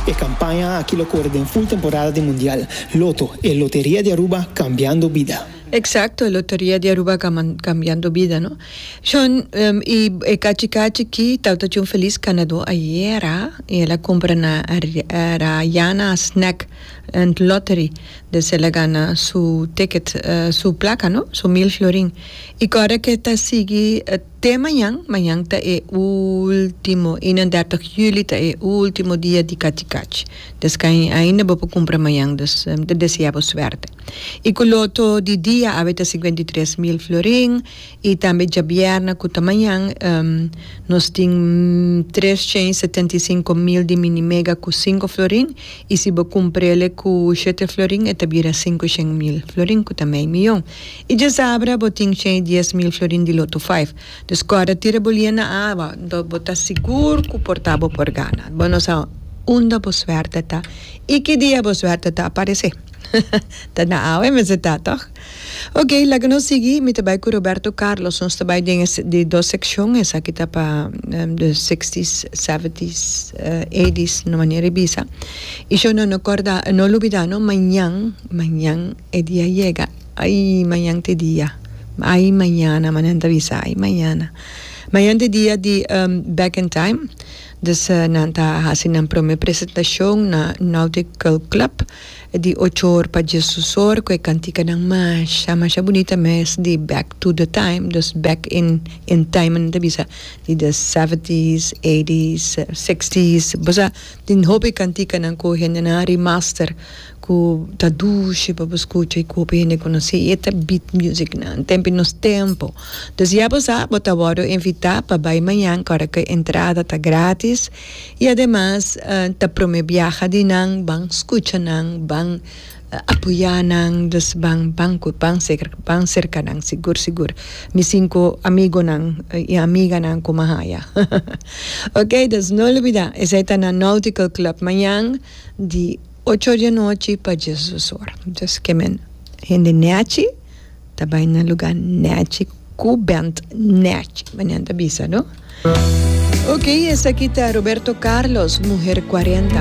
E campaña aki lo core den full temporada di Mundial. Lotto, e loteria di Aruba cambiando bida. Exacto, e loteria di Aruba cambiando bida, no? Shon, y e cachi cachi ki tabata tin un feliz ganador ayera y el a cumpra na Rayana Snack and Lottery. Des el a gana su ticket, su placa, no? Su mil florin. Y corda ke ta sigui te mañan, mañan ta e ultimo, 31 juli ta e ultimo dia di Cachi Cachi. Des kai ainda bo por cumpra mañan, dus mi ta desea bo suerte. Y cu loto di dia awe ta 53 mil florin y tambe djabièrnè cu ta mañan nos tin 375 mil di mini mega cu cinco florin y si bo cumprele cu shete florin e ta bira 500 mil florin cu ta mei miyon. Y djasabra bo tin shen y dies mil florin di loto five. Dus kòrda tira bo lia na awa, anto bo ta sigur ku por ta bo por gana. Bo no sa unda bo suerte ta y ki dia bo suerte ta aparesé. Ta na awe mester ta, tòg? Ok, laga nos sigui. Mi ta bai ku Roberto Carlos. Nos ta bai den e di dos sekshon. Esaki ta pa de sixties, seventies, eighties, no manera di bisa. Y sho no no kòrda, no lubidá no, mañan, mañan e dia yega. Ay, mañan t'e dia. Ay, mañana, manan ta bisa, ay, mañana. Mañan t'e dia di Back in Time. Dus nan ta hasi nan prome presentashon na Nautical Club di ocho or pa diesdos or ku e kantikanan masha, masha bunita mes di Back to the Time, dus back in in time nan ta bisa, di the seventies, eighties, sixties. Bo sa tin hopi kantikanan ku hendenan a remaster. Ku ta dushi pa bo skucha i ku hopi hende konosé i e ta beat music nan tempu i nos tempu. Dus ya bo sa bo ta wòrdu invitá pa bai mañan kòrda ku e entrada ta gratis i ademas ta promé biaha di nan ban skucha nan ban apoyá nan dus ban ban ku ban serka ban serka nan sigur sigur mi sinku amigonan i amiganan ku mi a haya ok dus no lubidá esei ta na Nautical Club mañan di Ocho or di anochi pa diesdos or. Dus ke men hende nèchi ta bai na lugá nèchi ku bènt nèchi, manera nan ta bisa, no? Ok, esaki ta Roberto Carlos, Mujer Cuarenta.